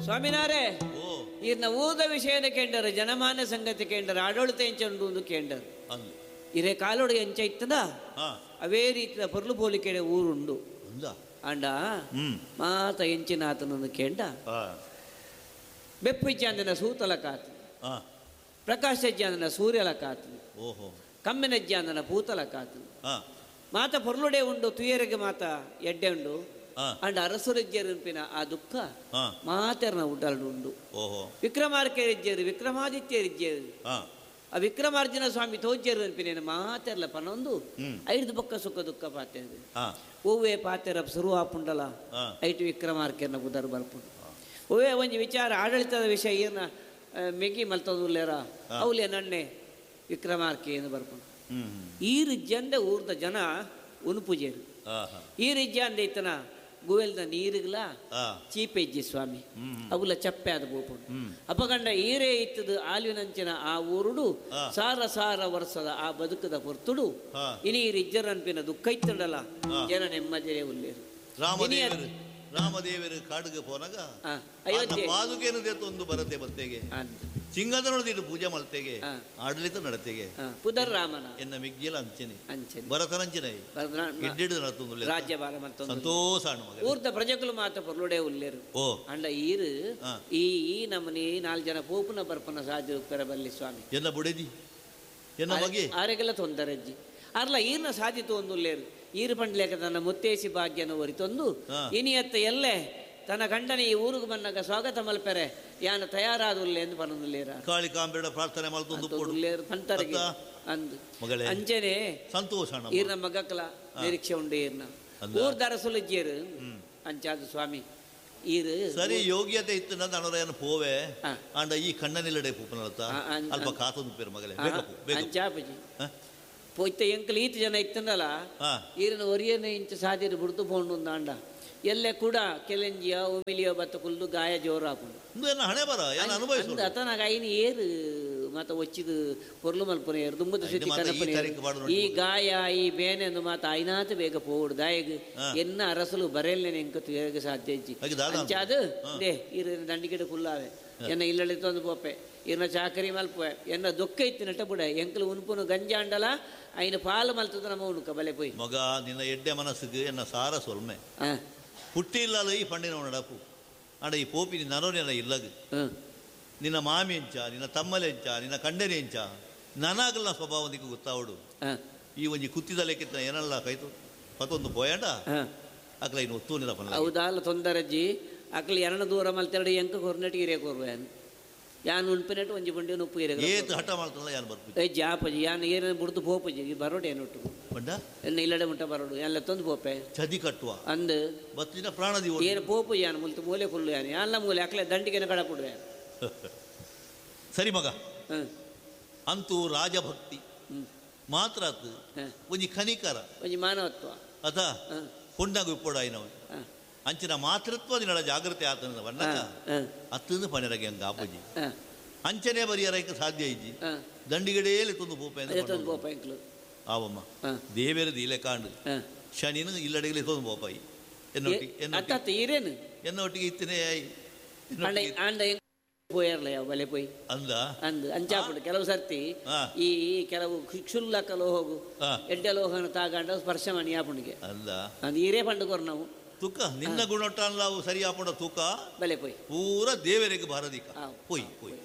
ಸ್ವಾಮಿನಾರೇ, ಈರ್ನ ಊದ ವಿಷಯದ ಕೇಂಡರು, ಜನಮಾನ್ಯ ಸಂಗತಿ ಕೇಂಡರು, ಆಡಳಿತ ಎಂಚುಂಡು ಕೇಂಡರು. ಇರೇ ಕಾಲೋಡು ಎಂಚ ಇತ್ತದ ಅವೇ ರೀತಿಯ ಪೊರ್ಲು ಪೋಲಿಕೆಡೆ ಊರುಂಡು. ಅಂಡ ಮಾತ ಎಂಚಿನಾತನನ್ನು ಕೇಂಡ ಬೆಪ್ಪು ಇಜ್ಜಾಂದಿನ ಸೂತಲ ಕಾತು, ಪ್ರಕಾಶ ಇಜ್ಜಾಂದಿನ ಸೂರ್ಯಲ ಕಾತು, ಕಮ್ಮಿನ ಇಜ್ಜಾಂದಿನ ಪೂತಲ ಕಾತು, ಮಾತ ಪೊರ್ಲುಡೆ ಉಂಡು, ತುಯರಿಗೆ ಮಾತ ಎಡ್ಡೆ ಉಂಡು. ಅಂಡ ಅರಸುರಿಜ್ಜರುಪಿನ ಆ ದುಃಖ ಮಾತೆರ್ನ ಉಡಲ್ಡು ಉಂಡು. ವಿಕ್ರಮಾರ್ಕೆರಿಜ್ಜರು, ವಿಕ್ರಮಾದಿತ್ಯರಿಜ್ಜರು, ಆ ವಿಕ್ರಮಾರ್ಜುನ ಸ್ವಾಮಿ ತೋಜ್ಜರು ಅನ್ಪಿನೇನು ಮಾತೆರ್ಲ ಪನೊಂದು ಐದು ಬೊಕ್ಕ ಸುಖ ದುಃಖ ಪಾತೆ ಓವೇ ಪಾತೆರ ಶುರು ಆಪುಂಡಲ ಐಟು ವಿಕ್ರಮಾರ್ಕೆರ್ನ ಬುದರ್ ಬರ್ಪುಂಡು. ಓವೇ ಒಂಜಿ ವಿಚಾರ ಆಡಳಿತದ ವಿಷಯ ಏನ ಮೆಗಿ ಮಲ್ತದುಲ್ಲೇರ ಅವಲೇ ನನ್ನೆ ವಿಕ್ರಮಾರ್ಕೆ ಏನು ಬರ್ಪುಂಡು. ಈ ರಿಜ್ಜಂದೆ ಊರ್ದ ಜನ ಉನುಪುಜೇರು. ಈ ರಿಜ್ಜಂದೆ ಇತ್ತನ ಗುವೆಲ್ದ ನೀರುಗಳ ಚೀಪೆಜ್ಜಿ ಸ್ವಾಮಿ ಅವುಲ ಚಪ್ಪೆ ಆದ ಬೋಪುಂಡು. ಅಪಗಂಡ ಈರೇ ಇತ್ತದು ಆಲಿನಂಚಿನ ಆ ಊರುಡು ಸಾರ ಸಾರ ವರ್ಷದ ಆ ಬದುಕದ ಹೊರ್ತುಡು ಇನಿ ರಿಜ್ಜರನ್ಪಿನ ದುಃಖ ಇತ್ತುಂಡಲ ಜನ ನೆಮ್ಮದಿರೇ ಉಲ್ಲೇರು. ರಾಮದೇವರು ಕಾಡುಗೆ ಪೋನಾಗ ಪಾದುಕೆಯನ್ನು ದೇತೊಂದು ಬರತೆ ಬತ್ತೆಗೆ ಚಿಂಗದನೊಳದಿಟ್ಟು ಪೂಜೆ ಮಲ್ತೆಗೆ ಆಡಳಿತ ನಡತೆಗೆ ಪುದರ್ ರಾಮನ ಎನ್ನ ಮಿಗ್ಗಿಲ ಅಂಚನೆ ಅಂಚನೆ ಭರತನಂಚನೆ ಗಿಡ್ಡಿಡು ನಡತೊಂದು ರಾಜ್ಯಭಾರ ಮಲ್ತೊಂದು ಸಂತೋಷ. ಊರ್ದ ಪ್ರಜೆಗಳು ಮಾತ್ರ ಪೊರ್ಲುಡೆ ಉಲ್ಲೇರು. ಓ ಅಂಡ ಈರು ಈ ಈ ನಮ್ಮನಿ 4 ಜನ ಪೋಪುನ ಬರ್ಪನ ಸಾಧ್ಯ ಪೆರಬಲ್ಲಿ ಸ್ವಾಮಿ ಎನ್ನ ಬುಡೆದಿ ಎನ್ನ ಮಗೆ ಆರೆಗೆಲ್ಲ ತೊಂದರೆ ಅಜ್ಜಿ ಅರ್ಲ ಈರ್ನ ಸಾಧಿತು ಒಂದು ಈರು ಪಂಡ್ಲೇಕ ತನ್ನ ಮುತ್ತೇಸಿ ಭಾಗ್ಯನ ಒರಿತೊಂದು ಇನಿಯತ್ತ ಎಲ್ಲೆ ತನ್ನ ಗಂಡನ ಈ ಊರಿಗೆ ಬಂದಾಗ ಸ್ವಾಗತ ಮಲ್ಪೆರೆ ಯಾನ ತಯಾರಾದುಲ್ಲೆ ಎಂದು ಪನೊಂದುಲ್ಲೇರ ಕಾಳಿಕಾಂಬೇಡ ಪ್ರಾರ್ಥನೆ ಮಲ್ತೊಂದು ಪಂತರಿಗೆ ಅಂದು ಅಂಚನೆ ಸಂತೋಷ ಈರ್ನ ಮಗಕ್ಕಲ ನಿರೀಕ್ಷೆ ಉಂಡು. ಈರ್ನ ಊರ್ದ ಅರಸುಲಜ್ಜಿಯರು ಅಂಚಾದ ಸ್ವಾಮಿ ಈರು ಸರಿ ಯೋಗ್ಯತೆ ಇತ್ತು ನನ್ನ ಪೋವೆ ಅಂಡ ಈ ಕಣ್ಣನಿಲ್ಲಡೆ ಪೂಪನಲತ್ತ ಅಲ್ಪ ಕಾತೊಂದು ಪೇರು ಮಗಲೇ ಅಂಚಾಪಜಿ ಪೋಯ್ತ ಎಂಕಲ್ ಈತ ಜನ ಇತ್ತಂದಲ್ಲ ಈರನ ಒರಿಯನ ಇಂಚ ಸಾಧ್ಯತೆ ಬಿಡ್ತು ಪೋಂಡು ಅಂಡ ಎಲ್ಲೆ ಕೂಡ ಕೆಲೆಂಜಿಯ ಉಮಿಲಿಯೋ ಬತ್ತ ಕುಲ್ದು ಗಾಯ ಜೋರು ಹಾಕೊಂಡು ಅತನಾಗ ಐನು ಏರು ಮಾತ ಒಚ್ಚಿದು ಪೊರ್ಲು ಮಲ್ಪುನ ಏರು ದುಂಬದ ಸುತ್ತಿ ಕನಪನ ಈ ಗಾಯ ಈ ಬೇನೆ ಅಂದು ಮಾತ ಐನಾತ ಬೇಗ ಪೋಡು ದಾಯಗ್ ಎನ್ನ ಅರಸಲು ಬರೆಲ್ನೆ ಎಂಕ ತುಯಗ ಸಾಧ್ಯ ಇಜ್ಜಿ ಅಂಚಾದು they ಈರ ದಂಡಿಗಿಡ ಕುಲ್ಲಾವೆ ಎನ್ನ ಇಲ್ಲಳಿ ತಂದು ಪೋಪೆ ಇರ್ನ ಚಾಕರಿ ಮಲ್ಪೆ ಎನ್ನ ದುಃಖ ಇತ್ತು ನಟ ಬುಡ ಎಂಕಲು ಉನ್ಪುನು ಗಂಜಾಂಡಲ ಐನ ಪಾಲು ಮಲ್ತದ ನಮ್ಮ ಉಣುಕ ಬಲೆ ಪೋಯ್ ಮಗ ನಿನ್ನ ಎಡ್ಡೆ ಮನಸ್ಸಿಗೆ ಎನ್ನ ಸಾರ ಸೊಲ್ಮೆ ಪುಟ್ಟಿ ಇಲ್ಲಲ್ಲ ಈ ಪಂಡಿನ ನಡಪು ಅಂಡ ಈ ಪೋಪಿ ನಿನ್ನ ಇಲ್ಲಗ ನಿನ್ನ ಮಾಮಿ ಎಂಚ ನಿನ್ನ ತಮ್ಮಲೆ ಎಂಚ ನಿನ್ನ ಕಂಡನೆ ಎಂಚ ನನಗಲ್ಲ ಸ್ವಭಾವ ನಿಕ್ಕು ಗೊತ್ತಾವಡು ಈ ಒಂಜಿ ಕುತ್ತಿದ ಲೆಕ್ಕಿತ್ತ ಏನಲ್ಲ ಕೈತು ಪತ್ತೊಂದು ಪೋಯಂಡ ಅಕ್ಲ ಇನ್ನು ಒತ್ತು ನಿಲ್ಲ ಪನ್ನ ಹೌದಲ್ಲ ತೊಂದರಜ್ಜಿ ಅಕ್ಲ ಎರಣ ದೂರ ಮಲ್ತೆರಡು ಎಂಕ ಕೊರ್ನೆಟ್ ಕೊರ್ವೆ ಯಾನ್ ಉನ್ಪಿನೆಟ್ ಒಂಜಿ ಬಂಡಿ ಉಪ್ಪು ಇರೆ ಏತ್ ಹಠ ಮಾಡ್ತಲ್ಲ ಯಾನ್ ಬರ್ಪು ಏ ಜಾಪಜಿ ಯಾನ್ ಏನ ಬುಡ್ದು ಪೋಪಜಿ ಬರೋಡು ಏನೊಟ್ಟು ಬಂಡ ಎನ್ನ ಇಲ್ಲಡೆ ಮುಟ್ಟ ಬರೋಡು ಎಲ್ಲ ತಂದು ಪೋಪೆ ಚದಿ ಕಟ್ಟುವ ಅಂದು ಬತ್ತಿನ ಪ್ರಾಣ ದಿವ ಏನು ಪೋಪು ಯಾನ್ ಮುಲ್ತು ಮೂಲೆ ಕುಲ್ಲು ಯಾನ್ ಯಾನ್ಲ ಮೂಲೆ ಅಕ್ಲೆ ದಂಡಿಗೆನ ಕಡಪುಡುವೆ. ಸರಿ ಮಗ ಅಂತೂ ರಾಜಭಕ್ತಿ ಮಾತ್ರ ಒಂಜಿ ಖನಿಕರ ಒಂಜಿ ಮಾನವತ್ವ ಅಥ ಪುಂಡಾಗ ಉಪ್ಪೊಡಾಯಿನವು ಅಂಚಿನ ಮಾತೃತ್ವ ದಿನಳ ಜಾಗೃತಿ ಆತನ ಬಣ್ಣಕ ಅತ್ತಂದು ಪನೆರಗೆ ಹಂಗ ಆಪುಜಿ ಅಂಚನೆ ಬರಿಯರಕ್ಕೆ ಸಾಧ್ಯ ಇಜ್ಜಿ ದಂಡಿಗಡೆಯಲ್ಲಿ ತಂದು ಪೋಪೆ ಆವಮ್ಮ ದೇವೇರ ದೀಲೆ ಕಾಂಡು ಶನಿನ ಇಲ್ಲಡೆಗೆ ತಂದು ಪೋಪಾಯಿ ಎನ್ನೊಟ್ಟಿಗೆ ಎನ್ನೊಟ್ಟಿಗೆ ಇತ್ತನೇ ಪೋಯರ್ಲ ಬಲೆ ಪೋಯ್ ಅಂದ ಅಂದ್ ಅಂಚಾಪುಡು ಕೆಲವು ಸರ್ತಿ ಈ ಕೆಲವು ಕ್ಷುಲ್ಲಕ ಲೋಹಗು ಎಡ್ಡೆ ಲೋಹನ ತಾಗಂಡ ಸ್ಪರ್ಶ ಮಣಿ ಆಪುಣಿಗೆ ಅಂದ ಅಂದ್ ಈರೇ ಪಂಡು ಕೊರ್ ನಾವು ತೂಕ ನಿನ್ನ ಗುಣೊಟ್ಟಾನ್ಲಾವು ಸರಿ ಆಪುಂಡ ತೂಕ ಬಲೆ ಪೋಯ್ ಪೂರ ದೇವರಿಗೆ ಭಾರದಿಕ ಪೋಯ್ ಪೋಯ್.